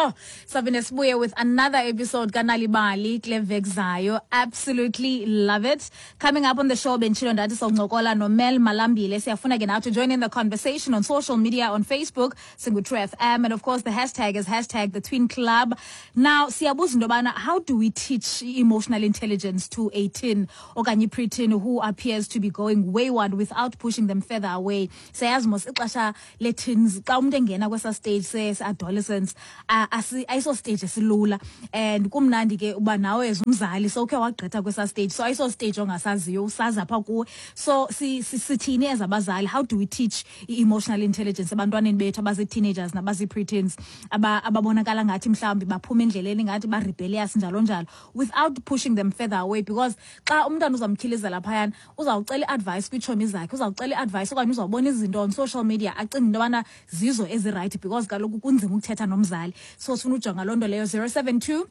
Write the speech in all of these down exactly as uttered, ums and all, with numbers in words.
Sure, saphinde sibuye with another episode kaNal'ibali kule veki zayo. Absolutely love it. Coming up on the show, benditshilo ndathi sawuncokola noMel Malambile. Siyafuna ke now to join in the conversation on social media, on Facebook, singu-True F M, and of course the hashtag is hashtag the Twin Club. Now, siyabuza into yobana how do we teach emotional intelligence to a teen okanye preteen who appears to be going wayward without pushing them further away? Siyazi mos ixesha le-teens, xa umntu engena kwesa stage se-adolescence, ayiso stage esilula, and kumnandi ke uba nawe as umzali sowukhe wagqitha kwesa stage, so ayiso stage ongasaziyo, usazi apha kuwe. So si- si- sithini as abazali? How do we teach i-emotional intelligence ebantwaneni bethu abazi-teenagers nabazi-preteens aba- ababonakala ngathi mhlawumbi baphuma endleleni, ngathi ba-rebellious, njalo njalo, without pushing them further away? Because xa umntwana uzamtyhilizela phayana, uzawucela i-advice kwiitshomi zakhe, uzawucela i-advice okanye uzawubona izinto on social media, acinge into yobana zizo ezi-right, because kaloku kunzima ukuthetha nomzali. So sifuna ujonga loo nto leyo. zero seven two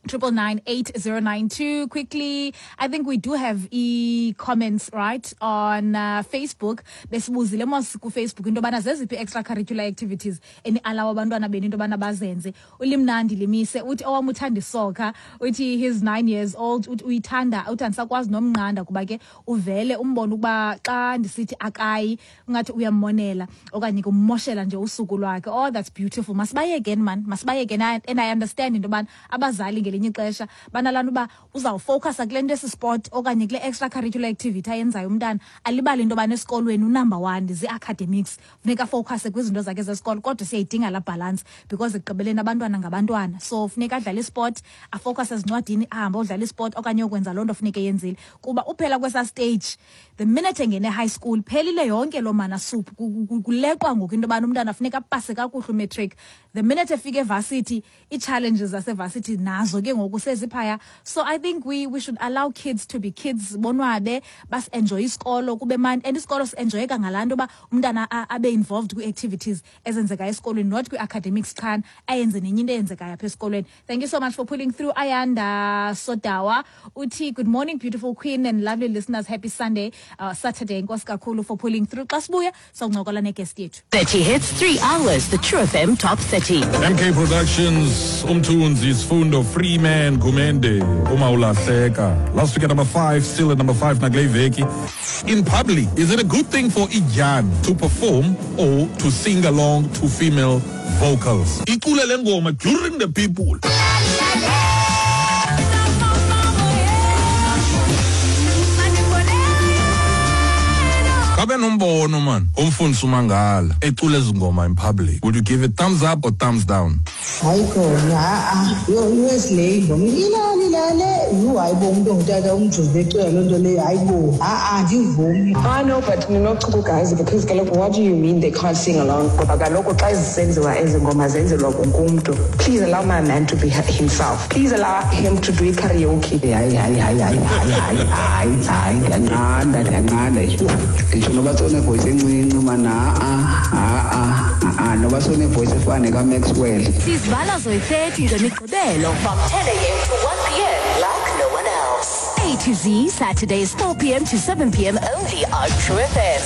triple nine eight zero nine two. Quickly, I think we do have e-comments, right, on uh, Facebook. Besibuzile mos kuFacebook into yobana zeziphi extracurricular activities eni-allow abantwana benu into yobana bazenze. Ulimnandi limise uthi owam uthanda isoccer. Uthi he's nine years old, uthi uyithanda, uthi andisakwazi nomnqanda kuba ke uvele umbone ukuba xa ndisithi akayi ungathi uyammonela okanye kummoshela nje usuku lwakhe. Oh, that's beautiful. Masibayekeni man, masibayekeni. And I understand into yobana abazali ngelinye ixesha banalaa nto uba uzawufocusa kule nto esi-sport okanye kule extracurricular activity ayenzayo umntana, alibale into yobana esikolweni unumber one zii-academics, funeka afocuse kwizinto zakhe zesikolo. Kodwa siyayidinga laa balance, because ekugqibeleni abantwana ngabantwana, so funeka adlale isport, afocuse ezincwadini, ahambe odlala isport okanye yokwenza loo nto funeka eyenzile, kuba uphela kwesaa stage, the minute engene high school, phelile yonke loo mana soup. Kuleqwa ngoku into yobana umntana funeka apase kakuhle umatric. The minute efika evarsity, ii-challenges zasevarsity nazo ke ngoku seziphaya. So I think we, we should allow kids to be kids, bonwabe, basi-enjoye isikolo, kube mandi, and isikolo si-enjoyeka ngalaa nto uba umntana abe involved kwii-activities ezenzekayo esikolweni, not kwii-academics qha, ayenze nenye into eyenzekayo apha esikolweni. Thank you so much for pulling through. Ayanda Sodawa uthi, "Good morning, beautiful queen and lovely listeners. Happy Sunday, uh, Saturday." Enkosi kakhulu for pulling through. Xa sibuya sawuncokola neguest yethu. thirty hits, three hours. The True F M Top thirty. M K Productions, Umthunzi, Sfundo, Freeman, Gumende, Uma Ulahleka. Last week at number five, still at number five, nakule veki. In public, is it a good thing for idyana to perform or to sing along to female vocals? Icule le ngoma during the people. Kabe nombono man, umfundisi uMangala ecula ezi ngoma in public. Would you give it thumbs up or thumbs down? Hayi khona, ha-a, iwesi ingoma ilalilale. Yhu, hayi bo, umntu ongutata umjuze ecula loo nto leyo, hayi bo, ha-a, andivumi. I know, but ninochuku guys, because kaloku what do you mean they can't sing along? Ngoba kaloku xa zisenziwa ezi ngoma zenzelwa wonke umntu. Please allow my man to be himself. Please allow him to do karaoke. Hayi, hayi, hayi, hayi, hayi, hayi, hayi, hayi, ndiyanqanda, ndiyanqanda. Nditsho noba sowunevoice encinci mana, ha-a, ha-a, ha-a, noba sowunevoice efana nekaMaxwell. Sizivala zoyi-thirty ngemigqibelo from ten a m to one p m like no one else. A to Z, Saturdays four p m to seven p m only on True F M.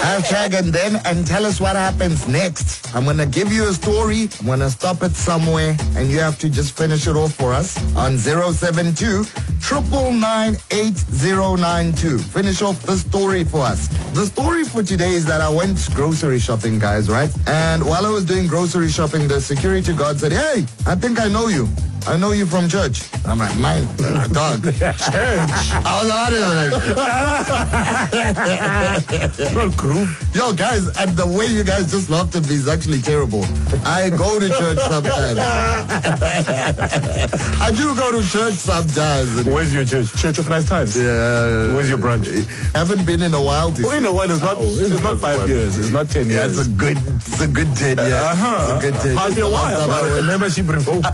Hashtag and then and tell us what happens next. I'm gonna give you a story. I'm gonna stop it somewhere and you have to just finish it off for us on zero seven two triple nine eight zero nine two. Finish off the story for us. The story for today is that I went grocery shopping, guys, right? And while I was doing grocery shopping, the security guard said, "Hey, I think I know you. I know you from church." I'm like, "Man, dog. Church." I was out of Not group. Yo, guys, and the way you guys just laughed at me is actually terrible. I go to church sometimes. I do go to church sometimes. Where's your church? Church of Christ Times? Yeah. Where's your branch? Haven't been in a while. Oh, in a while, it's not, it's not five years. It's not ten Yeah, years. it's a good, it's a good ten years. Uh-huh. It's a good ten. Hardly a while. Last time I went- Membership revoked.